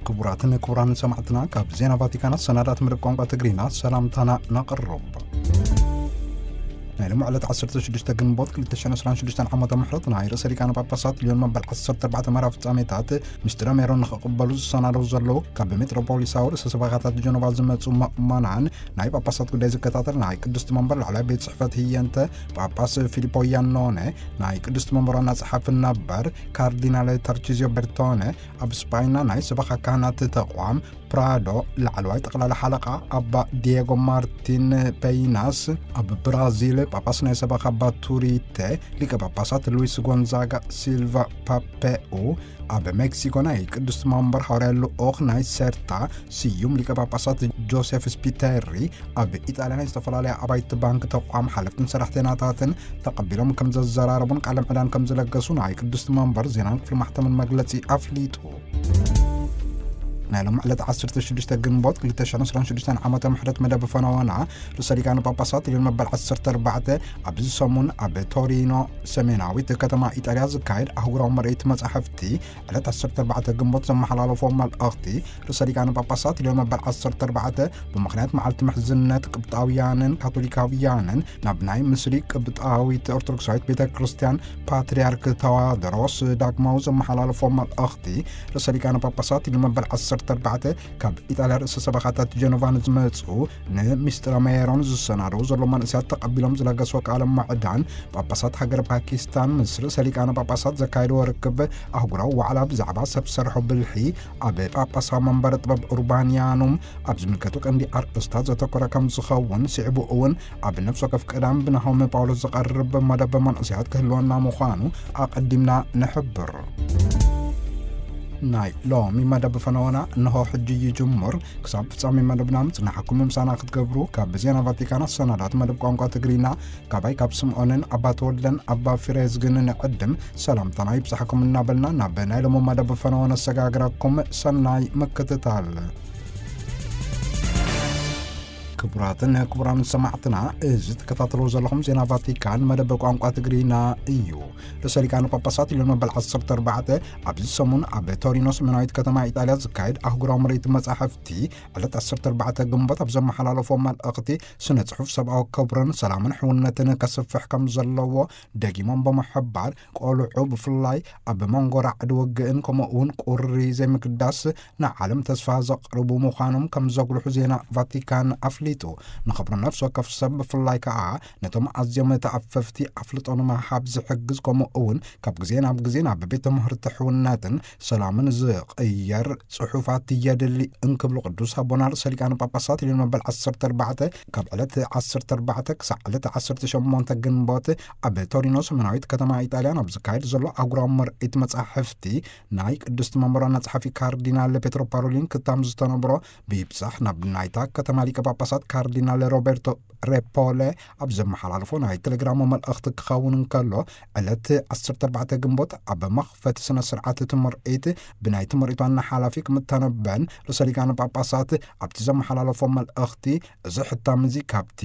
ክቡራትን ክቡራንን ሰማዕትና፣ ካብ ዜና ቫቲካን ኣሰናዳት መደብ ቋንቋ ትግርኛ ሰላምታና ነቕርብ። ናይ ሎሚ ዕለት ዓሰርተ ሽዱሽተ ግንቦት ክልተ ሽሕን ዕስራን ሽዱሽተን ዓመተ ምሕረት ናይ ርእሰ ሊቃነ ጳጳሳት ልዮን መበል ዓሰርተ ኣርባዕተ መርሃ ፍጻሜታት ምስጢረ ሜሮን ንኽቕበሉ ዝሰናደው ዘለዉ፣ ካብ ሜትሮፖሊሳዊ ርእሰ ሰበኻታት ጀኖቫ ዝመጹ ምእመናን፣ ናይ ጳጳሳት ጉዳይ ዝከታተል ናይ ቅድስቲ መንበር ላዕላይ ቤት ጽሕፈት ህየንተ ጳጳስ ፊሊፖ ያኖነ፣ ናይ ቅድስቲ መንበር ዋና ጸሓፊ ነበር ካርዲናል ታርቺዚዮ በርቶነ፣ ኣብ ስጳይና ናይ ሰበኻ ካህናት ተቋም ፕራዶ ላዕለዋይ ጠቕላላ ሓለቓ ኣባ ዲየጎ ማርቲን ፔይናስ፣ ኣብ ብራዚል ጳጳስ ናይ ሰበኻ ባቱሪተ ሊቀ ጳጳሳት ሉዊስ ጎንዛጋ ሲልቫ ፓፔኡ፣ ኣብ ሜክሲኮ ናይ ቅድስቲ መንበር ሃዋርያ ልኡኽ ናይ ሴርታ ስዩም ሊቀ ጳጳሳት ጆሴፍ ስፒተሪ፣ ኣብ ኢጣልያ ናይ ዝተፈላለያ ኣባይቲ ባንክ ተቋም ሓለፍትን ሰራሕተኛታትን ተቐቢሎም ከም ዘዘራረቡን ቃለ ምዕዳን ከም ዝለገሱ ናይ ቅድስቲ መንበር ዜናን ክፍሊ ማሕተምን መግለጺ ኣፍሊጡ። ናይ ሎም ዕለት ዓሰርተ ሽዱሽተ ግንቦት ክልተ ሽሕን ዕስራን ሽዱሽተን ዓመተ ምሕረት መደብ ፈነወና ርእሰ ሊቃነ ጳጳሳት ልዮን መበል ዓሰርተ ኣርባዕተ ኣብዚ ሰሙን ኣብ ቶሪኖ ሰሜናዊት ከተማ ኢጣልያ ዝካየድ ኣህጉራዊ ምርኢት መጻሕፍቲ ዕለት ዓሰርተ ኣርባዕተ ግንቦት ዘመሓላለፎ መልእኽቲ፣ ርእሰ ሊቃነ ጳጳሳት ልዮን መበል ዓሰርተ ኣርባዕተ ብምኽንያት መዓልቲ ምሕዝነት ቅብጣውያንን ካቶሊካውያንን ናብ ናይ ምስሪ ቅብጣዊት ኦርቶዶክሳዊት ቤተ ክርስቲያን ፓትርያርክ ተዋድሮስ ዳግማዊ ዘመሓላለፎ መልእኽቲ፣ ርእሰ ሊቃነ ጳጳሳት ልዮን መበል ዓሰርተ ኣርባዕተ ካብ ኢጣልያ ርእሰ ሰበኻታት ጀኖቫ ንዝመጹ፣ ንምስጢረ ሜሮን ዝሰናደው ዘሎ መንእሰያት ተቐቢሎም ዝለገስዎ ቃለ ምዕዳን፣ ጳጳሳት ሃገር ፓኪስታን ምስ ርእሰ ሊቃነ ጳጳሳት ዘካየድዎ ርክብ፣ ኣህጉራዊ ዋዕላ ብዛዕባ ሰብ ሰርሖ ብልሒ ኣብ ጳጳሳዊ መንበረ ጥበብ ኡርባንያኑም ኣብ ዝምልከቱ ቀንዲ ኣርእስታት ዘተኮረ ከም ዝኸውን፣ ስዒቡ እውን ኣብ ነፍሲ ወከፍ ቀዳም ብናሆም ጳውሎስ ዝቐርብ መደብ መንእሰያት ክህልወና ምዃኑ ኣቐዲምና ንሕብር። ናይ ሎሚ መደብ ፈነወና እንሆ ሕጂ ይጅምር። ክሳብ ፍጻሜ መደብና ምጽናሕኩም ምሳና ክትገብሩ ካብ ዜና ቫቲካን ኣሰናዳት መደብ ቋንቋ ትግርኛ፣ ካባይ ካብ ስምዖንን ኣባ ተወልደን ኣባ ፊሬዝግን ንዕድም ሰላምታና ይብጻሕኩም እናበልና፣ ናብ ናይ ሎሚ መደብ ፈነወ ነሰጋግረኩም። ሰናይ ምክትታል። ክቡራትን ክቡራን ሰማዕትና፣ እዚ ትከታተልዎ ዘለኹም ዜና ቫቲካን መደብ ቋንቋ ትግርኛ እዩ። ርእሰ ሊቃነ ጳጳሳት ልዮን መበል ዓሰርተ ኣርባዕተ ኣብዚ ሰሙን ኣብ ቶሪኖ ሰሜናዊት ከተማ ኢጣልያ ዝካየድ ኣህጉራዊ ምርኢት መጻሕፍቲ ዕለት ዓሰርተ ኣርባዕተ ግንቦት ኣብ ዘመሓላለፎ መልእኽቲ፣ ስነ ጽሑፍ ሰብኣዊ ክብርን ሰላምን ሕውነትን ከስፍሕ ከም ዘለዎ ደጊሞም ብምሕባር፣ ቆልዑ ብፍላይ ኣብ መንጎ ራዕዲ ውግእን ከምኡ እውን ቁሪ ዘይምግዳስ ንዓለም ተስፋ ዘቕርቡ ምዃኖም ከም ዘጉልሑ ዜና ቫቲካን ኣፍሊጡ። ንኽብሪ ነፍሲ ወከፍ ሰብ ብፍላይ ከኣ ነቶም ኣዝዮም ተኣፈፍቲ ኣፍልጦ ንምሃብ ዝሕግዝ፣ ከምኡ እውን ካብ ግዜ ናብ ግዜ ናብ ቤት ትምህርቲ ሕውነትን ሰላምን ዝቕየር ጽሑፋት የድሊ እንክብሉ ቅዱስ ኣቦና ርእሰ ሊቃነ ጳጳሳት ልዮን መበል ዓሰርተ ኣርባዕተ ካብ ዕለት ዓሰርተ ኣርባዕተ ክሳዕ ዕለት ዓሰርተ ሸሞንተ ግንቦት ኣብ ቶሪኖ ሰሜናዊት ከተማ ኢጣልያ ኣብ ዝካየድ ዘሎ ኣህጉራዊ ምርኢት መጻሕፍቲ ናይ ቅድስቲ መንበር ዋና ጸሓፊ ካርዲናል ፔትሮ ፓሮሊን ክታም ዝተነብሮ፣ ብይብጻሕ ናብ ናይታ ከተማ ሊቀ ጳጳሳት ካርዲናል ሮቤርቶ ሬፖለ ኣብ ዘመሓላልፎ ናይ ቴሌግራም መልእኽቲ ክኸውን እንከሎ፣ ዕለት ዓሰርተ ኣርባዕተ ግንቦት ኣብ መኽፈቲ ስነ ስርዓት እቲ ምርኢት ብናይቲ ምርኢት ዋና ሓላፊ ክምተነበን ርእሰ ሊቃነ ጳጳሳት ኣብቲ ዘመሓላለፎ መልእኽቲ፣ እዚ ሕታም እዚ ካብቲ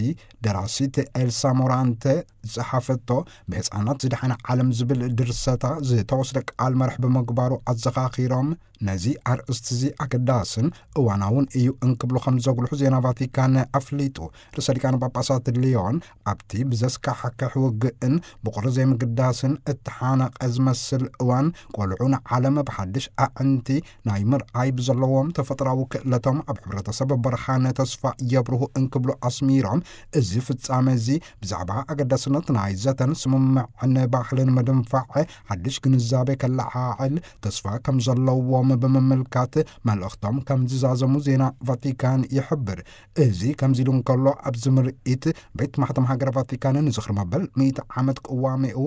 ደራሲት ኤልሳ ሞራንተ ዝጸሓፈቶ ብህጻናት ዝደሓነ ዓለም ዝብል ድርሰታ ዝተወስደ ቃል መርሕ ብምግባሩ ኣዘኻኺሮም፣ ነዚ ኣርእስቲ እዚ ኣገዳስን እዋናውን እዩ እንክብሉ ከም ዘጉልሑ ዜና ቫቲካን ኣፍሊጡ። ርእሰ ሊቃነ ጳጳሳት ሊዮን ኣብቲ ብዘስካሕክሕ ውግእን ብቑሪ ዘይምግዳስን እተሓነቐ ዝመስል እዋን፣ ቆልዑ ንዓለም ብሓድሽ ኣዕንቲ ናይ ምርኣይ ብዘለዎም ተፈጥራዊ ክእለቶም ኣብ ሕብረተሰብ ብርሃን ተስፋ የብርሁ እንክብሉ ኣስሚሮም፣ እዚ ፍጻመ እዚ ብዛዕባ ኣገዳስነት ናይ ዘተን ስምምዕን ባህልን ምድንፋዕ ሓድሽ ግንዛቤ ከለዓዕል ተስፋ ከም ዘለዎም ብምምልካት፣ መልእኽቶም ከም ዝዛዘሙ ዜና ቫቲካን ይሕብር። እዚ ከምዚ ኢሉ እንከሎ፣ ኣብዚ ምርኢት ቤት ማሕተም ሃገረ ቫቲካን ንዝኽሪ መበል ሚእቲ ዓመት ቅዋሜኡ